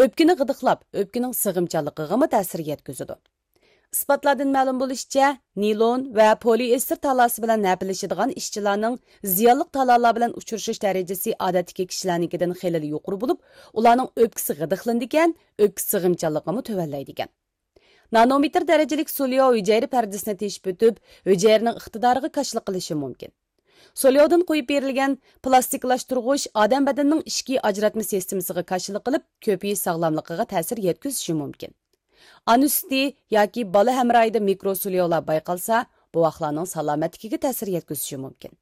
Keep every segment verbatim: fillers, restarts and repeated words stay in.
ئۆپكىنى غىدىقلاپ، ئۆپكىنىڭ سىغىمچانلىقىغىمۇ تەسىر يەتكۈزىدۇ. ئىسپاتلاردىن مەلۇم بولۇشىچە، نىلون ۋە پولىئېستېر تالاسى بىلەن ھەپىلىشىدىغان ئىشچىلارنىڭ زىيانلىق تالالار بىلەن ئۇچرىشىش دەرىجىسى ئادەتتىكى كىشىلەرنىڭكىدىن خېلىلا يۇقىرى بولۇپ، ئۇلارنىڭ ئۆپكىسى غىدىقلىنىدىكەن، ئۆپكە سىغىمچانلىقىمۇ تۆۋەنلەيدىكەن. نانومېتىر دەرىجىلىك سولياۋ ھۈجەيرە پەردىسىنى تېشىپ ئۆتۈپ، ھۈجەيرىنىڭ ئىقتىدارىغا كاشىلىق قىلىشى مۇمكىن. سولياۋدىن قويۇپ بېرىلگەن پلاستىكلاشتۇرغۇچ ئادەم بەدىنىنىڭ ئىچكى ئاجراتما سىستېمىسىغا كاشىلىق قىلىپ، كۆپىيىش ساغلاملىقىغا تەسىر يەتكۈزۈشى مۇمكىن. ئانا سۈتى ياكى بالا ھەمراھىدا مىكرو سولياۋلار بايقالسا، بوۋاقلارنىڭ سالامەتلىكىگە تەسىر يەتكۈزۈشى مۇمكىن.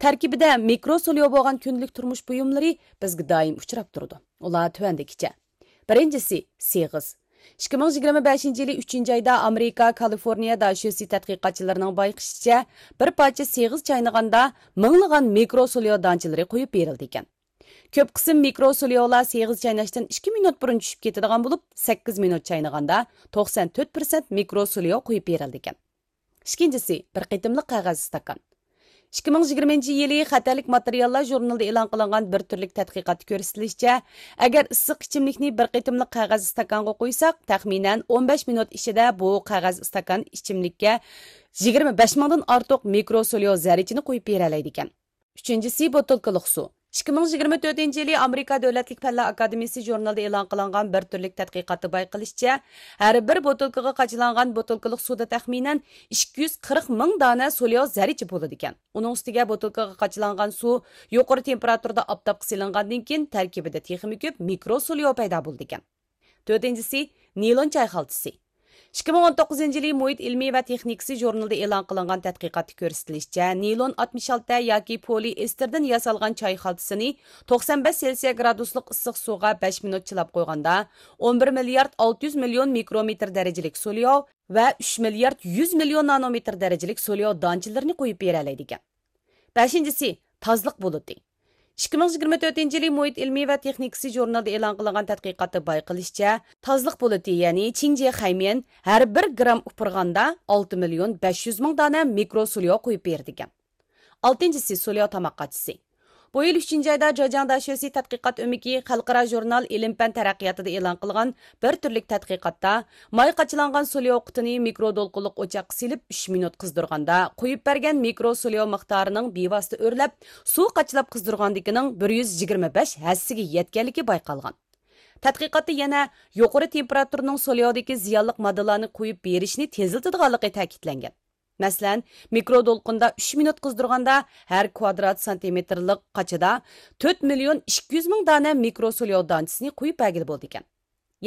تەركىبىدە مىكرو سولياۋ بولغان كۈندىلىك تۇرمۇش بۇيۇملىرى بىزگە دائىم ئۇچراپ تۇرىدۇ. ئۇلار تۆۋەندىكىچە. بىرىنچىسى، سېغىز. ئىككى مىڭ يىگىرمە بەشىنچى يىلى ئۈچىنچى ئايدا ئامېرىكا كالىفورنىيە داشۆسى تەتقىقاتچىلىرىنىڭ بايقىشىچە، بىر پارچە سېغىز چاينىغاندا مىڭلىغان مىكرو سولياۋ دانچىلىرى قويۇپ بېرىلىدىكەن. كۆپ قىسىم مىكرو سولياۋلار سېغىز چايناشتىن ئىككى مىنۇت بۇرۇن چۈشۈپ كېتىدىغان بولۇپ، سەككىز مىنۇت چاينىغاندا توقسان تۆت پىرسەنت مىكرو سولياۋ قويۇپ بېرىلىدىكەن. ئىككىنچىسى، بىر قېتىملىق قەغەز ئىستاكان. ئىككى مىڭ يىگىرمىنچى يىلى خەتەرلىك ماتېرىياللار ژۇرنىلىدا ئېلان قىلىنغان بىر تۈرلۈك تەتقىقاتتا كۆرسىتىلىشىچە، ئەگەر ئىسسىق ئىچىملىكنى بىر قېتىملىق قەغەز ئىستاكانغا قۇيساق، تەخمىنەن ئون بەش مىنۇت ئىچىدە بۇ قەغەز ئىستاكان ئىچىملىككە يىگىرمە بەش مىڭدىن ئارتۇق مىكرو سولياۋ زەررىچىنى قويۇپ بېرەلەيدىكەن. ئۈچىنچىسى، بوتۇلكىلىق سۇ. ئىككى مىڭ يىگىرمە تۆتىنچى يىلى ئامېرىكا دۆلەتلىك پەنلەر ئاكادېمىيىسى ژۇرنىلىدا ئېلان قىلىنغان بىر تۈرلۈك تەتقىقاتتا بايقىلىشىچە، ھەر بىر بوتۇلكىغا قاچىلانغان بوتۇلكىلىق سۇدا تەخمىنەن ئىككى يۈز قىرىق مىڭ دانە سولياۋ زەررىچە بولىدىكەن. ئۇنىڭ ئۈستىگە بوتۇلكىغا قاچىلانغان سۇ يۇقىرى تېمپېراتۇرىدا ئاپتاپقا سېلىنغاندىن كېيىن، تەركىبىدە تېخىمۇ كۆپ مىكرو سولياۋ پەيدا بولىدىكەن. تۆتىنچىسى، نىلون چاي خالتىسى. ئىككى مىڭ ئون توققۇزىنچى يىلى مۇھىت ئىلمىي ۋە تېخنىكىسى ژۇرنىلىدا ئېلان قىلىنغان تەتقىقاتتا كۆرسىتىلىشىچە، نىلون ئاتمىش ئالتە ياكى پولىئېستېردىن ياسالغان چاي خالتىسىنى توقسان بەش سېلسىيە گرادۇسلۇق ئىسسىق سۇغا بەش مىنۇت چىلاپ قويغاندا، ئون بىر مىليارد ئالتە يۈز مىليون مىكرومېتىر دەرىجىلىك سولياۋ ۋە ئۈچ مىليارد يۈز مىليون نانومېتىر دەرىجىلىك سولياۋ دانچىلىرىنى قويۇپ بېرەلەيدىكەن. بەشىنچىسى، تازىلىق بۇلۇتى. ئىككى مىڭ يىگىرمە تۆتىنچى يىلى مۇھىت ئىلمىي ۋە تېخنىكىسى ژۇرنىلىدا ئېلان قىلىنغان تەتقىقاتتا بايقىلىشىچە، تازىلىق بۇلۇتى، يەنى چىڭجيې خەيميەن ھەر بىر گرام ئۇپرىغاندا ئالتە مىليون بەش يۈز مىڭ دانە مىكرو سولياۋ قويۇپ بېرىدىكەن. ئالتىنچىسى، سولياۋ تاماق قاچىسى. بۇ يىل ئۈچىنچى ئايدا جېجياڭ داشۆسى تەتقىقات ئۆمىكى خەلقئارا ژۇرنال ئىلىم-پەن تەرەققىياتىدا ئېلان قىلغان بىر تۈرلۈك تەتقىقاتتا، ماي قاچىلانغان سولياۋ قۇتىنى مىكرو دولقۇنلۇق ئوچاققا سېلىپ، ئۈچ مىنۇت قىزدۇرغاندا، قويۇپ بەرگەن مىكرو سولياۋ مىقدارىنىڭ بىۋاسىتە ئۆرلەپ، سۇ قاچىلاپ قىزدۇرغاندىكىنىڭ بىر يۈز يىگىرمە بەش ھەسسىگە يەتكەنلىكى بايقالغان. تەتقىقاتتا يەنە يۇقىرى تېمپېراتۇرىنىڭ سولياۋدىكى زىيانلىق ماددىلارنى قويۇپ بېرىشنى تېزلىتىدىغانلىقى تەكىتلەنگەن. مەسىلەن، مىكرو دولقۇندا ئۈچ مىنۇت قىزدۇرغاندا، ھەر كۋادرات سانتىمېتىرلىق قاچىدا تۆت مىليون ئىككى يۈز مىڭ دانە مىكرو سولياۋ دانچىسىنى قويۇپ بەرگىلى بولىدىكەن.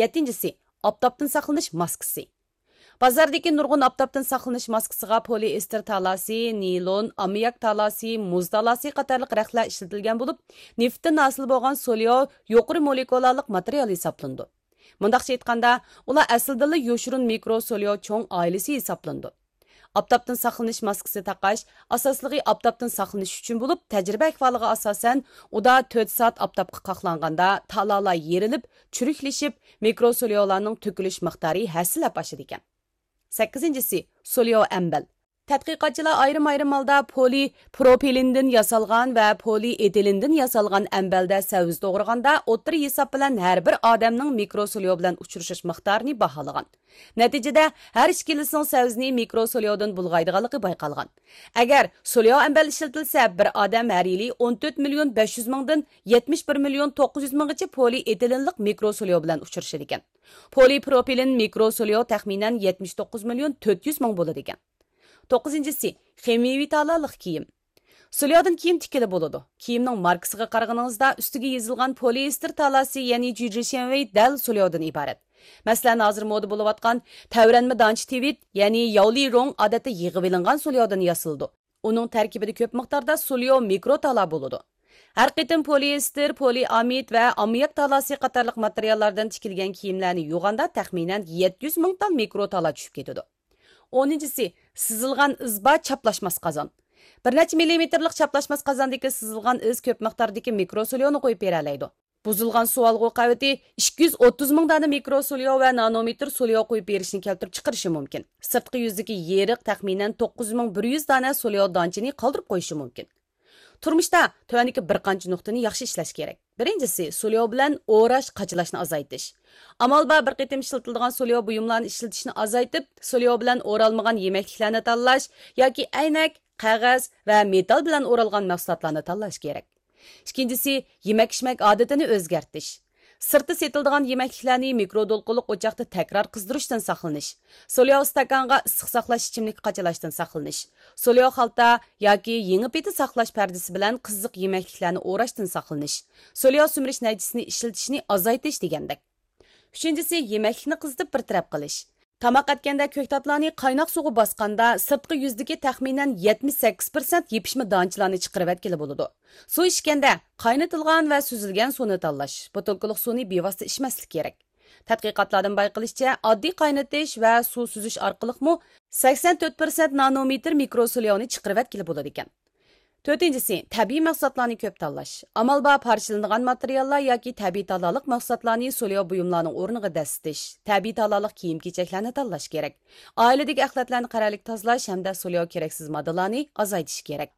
يەتتىنچىسى، ئاپتاپتىن ساقلىنىش ماسكىسى. بازاردىكى نۇرغۇن ئاپتاپتىن ساقلىنىش ماسكىسىغا پولىئېستېر تالاسى، نىلون، ئاممىياك تالاسى، مۇز تالاسى قاتارلىق رەختلەر ئىشلىتىلگەن بولۇپ، نېفىتتىن ھاسىل بولغان سولياۋ يۇقىرى مولېكۇلالىق ماتېرىيال ھېسابلىنىدۇ. مۇنداقچە ئېيتقاندا، ئۇلار ئەسلىدىنلا يوشۇرۇن مىكرو سولياۋ چوڭ ئائىلىسى ھېسابلىنىدۇ. ئاپتاپتىن ساقلىنىش ماسكىسى تاقاش ئاساسلىقى ئاپتاپتىن ساقلىنىش ئۈچۈن بولۇپ، تەجرىبە ئەھۋالىغا ئاساسەن، ئۇدا تۆت سائەت ئاپتاپقا قاقلانغاندا تالالار يېرىلىپ، چۈرۈكلىشىپ، مىكرو سولياۋلارنىڭ تۆكۈلۈش مىقدارى ھەسسىلەپ ئاشىدىكەن. سەككىزىنچىسى، سولياۋ ئەمبەل. تەتقىقاتچىلار ئايرىم-ئايرىم ھالدا پولىپروپىلېندىن ياسالغان ۋە پولىئېتىلېندىن ياسالغان ئەمبەلدە سەۋزە توغرىغاندا، ئوتتۇرا ھېساب بىلەن ھەر بىر ئادەمنىڭ مىكرو سولياۋ بىلەن ئۇچرىشىش مىقدارىنى باھالىغان. نەتىجىدە، ھەر ئىككىلىسىنىڭ سەۋزىنى مىكرو سولياۋدىن بۇلغايدىغانلىقى بايقالغان. ئەگەر سولياۋ ئەمبەل ئىشلىتىلسە، بىر ئادەم ھەر يىلى ئون تۆت مىليون بەش يۈز مىڭدىن يەتمىش بىر مىليون توققۇز يۈز مىڭغىچە پولىئېتىلېنلىق مىكرو سولياۋ بىلەن ئۇچرىشىدىكەن. پولىپروپىلېن مىكرو سولياۋ تەخمىنەن يەتمىش توققۇز مىليون تۆت يۈز مىڭ بولىدىكەن. توققۇزىنچىسى، خىمىيەۋى تالالىق كىيىم. سولياۋدىن كىيىم تىككىلى بولىدۇ. كىيىمنىڭ ماركىسىغا قارىغىنىڭىزدا ئۈستىگە يېزىلغان پولىئېستېر تالاسى، يەنى جۈجۈشيەنۋېي دەل سولياۋدىن ئىبارەت. مەسىلەن، ھازىر مودا بولۇۋاتقان تەۋرەنمە دانچە تىۋىت، يەنى ياۋلىرۇڭ ئادەتتە يىغىۋېلىنغان سولياۋدىن ياسىلىدۇ. ئۇنىڭ تەركىبىدە كۆپ مىقداردا سولياۋ مىكرو تالا بولىدۇ. ھەر قېتىم پولىئېستېر، پولىئامىد ۋە ئاممىياك تالاسى قاتارلىق ماتېرىياللاردىن تىكىلگەن كىيىملەرنى يۇغاندا تەخمىنەن يەتتە يۈز مىڭ تال مىكرو تالا چۈشۈپ كېتىدۇ. ئونىنچىسى، سىزىلغان ئىز بار چاپلاشماس قازان. بىر نەچچە مىللىمېتىرلىق چاپلاشماس قازاندىكى سىزىلغان ئىز كۆپ مىقداردىكى مىكرو سولياۋنى قويۇپ بېرەلەيدۇ. بۇزۇلغان سۇ ئالغۇ قەۋىتى ئىككى يۈز ئوتتۇز مىڭ دانە مىكرو سولياۋ ۋە نانومېتىر سولياۋ قويۇپ بېرىشنى كەلتۈرۈپ چىقىرىشى مۇمكىن. سىرتقى يۈزدىكى يېرىق تەخمىنەن توققۇز مىڭ بىر يۈز دانە سولياۋ دانچىنى قالدۇرۇپ قويۇشى مۇمكىن. تۇرمۇشتا تۆۋەندىكى بىر قانچە نۇقتىنى ياخشى ئىشلەش كېرەك. بىرىنچىسى، سولياۋ بىلەن ئوراش، قاچىلاشنى ئازايتىش. ئامال بار بىر قېتىم ئىشلىتىلىدىغان سولياۋ بۇيۇملارنى ئىشلىتىشنى ئازايتىپ، سولياۋ بىلەن ئورالمىغان يېمەكلىكلەرنى تاللاش ياكى ئەينەك، قەغەز ۋە مېتال بىلەن ئورالغان مەھسۇلاتلارنى تاللاش كېرەك. ئىككىنچىسى، يېمەك-ئىچمەك ئادىتىنى ئۆزگەرتىش. سىرتتا سېتىلىدىغان يېمەكلىكلەرنى مىكرو دولقۇنلۇق ئوچاقتا تەكرار قىزدۇرۇشتىن ساقلىنىش. سولياۋ ئىستاكانغا ئىسسىق ساقلاش ئىچىملىكى قاچىلاشتىن ساقلىنىش. سولياۋ خالتا ياكى يېڭى پېتى ساقلاش پەردىسى بىلەن قىزىق يېمەكلىكلەرنى ئوراشتىن ساقلىنىش. سولياۋ سۈمۈرۈش نەيچىسىنى ئىشلىتىشنى ئازايتىش دېگەندەك. ئۈچىنچىسى، يېمەكلىكنى قىزىتىپ بىر تەرەپ قىلىش. تاماق ئەتكەندە كۆكتاتلارنى قايناق سۇغا باسقاندا، سىرتقى يۈزدىكى تەخمىنەن يەتمىش سەككىز پىرسەنت يېپىشما دانچىلارنى چىقىرىۋەتكىلى بولىدۇ. سۇ ئىچكەندە قاينىتىلغان ۋە سۈزۈلگەن سۇنى تاللاش، بوتۇلكىلىق سۇنى بىۋاسىتە ئىچمەسلىك كېرەك. تەتقىقاتلاردىن بايقىلىشىچە، ئاددىي قاينىتىش ۋە سۇ سۈزۈش ئارقىلىقمۇ سەكسەن تۆت پىرسەنت نانومېتىر مىكرو سولياۋنى چىقىرىۋەتكىلى بولىدىكەن. تۆتىنچىسى، تەبىئىي مەھسۇلاتلارنى كۆپ تاللاش. ئامال بار پارچىلىنىدىغان ماتېرىياللار ياكى تەبىئىي تالالىق مەھسۇلاتلارنى سولياۋ بۇيۇملارنىڭ ئورنىغا دەسسىتىش، تەبىئىي تالالىق كىيىم-كېچەكلەرنى تاللاش كېرەك. ئائىلىدىكى ئەخلەتلەرنى قەرەللىك تازىلاش ھەمدە سولياۋ كېرەكسىز ماددىلارنى ئازايتىش كېرەك.